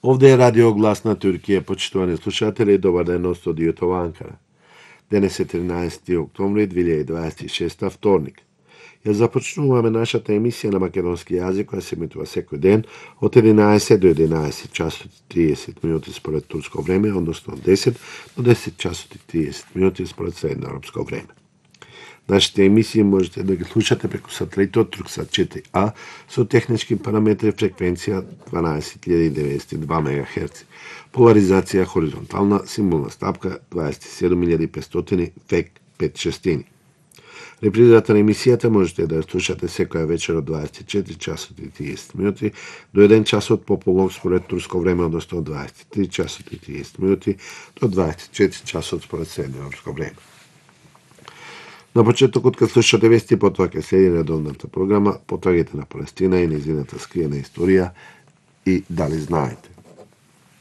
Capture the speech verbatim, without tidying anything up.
Овде е Радио Глас на Туркија, почитувани слушатели, добар ден од студиото во Анкара. Денес е тринаесети октомври две дваесет и шеста, вторник. Ја започнуваме нашата емисија на македонски јазик, која се емитува секој ден од единаесет до единаесет часот и триесет минути според турско време, односно од десет до десет часот и триесет минути според средноевропско време. Нашите емисии можете да ги слушате преку сателитот Турксат четири А со технички параметри фреквенција дванаесет илјади деветстотини и два мегахерци, поларизација хоризонтална, символна стапка дваесет и седум илјади петстотини век пет шестини. Репризата на емисијата можете да ја слушате секоја вечер од дваесет и четири часот и триесет минути до еден часот пополнок според турско време, односно од дваесет и три часот и триесет минути до дваесет и четири часот според средноевропско време. На почетокот кога слушате вести, потоа ќе следи редовната програма Потрагите на Палестина и нејзината скриена историја и Дали знаете.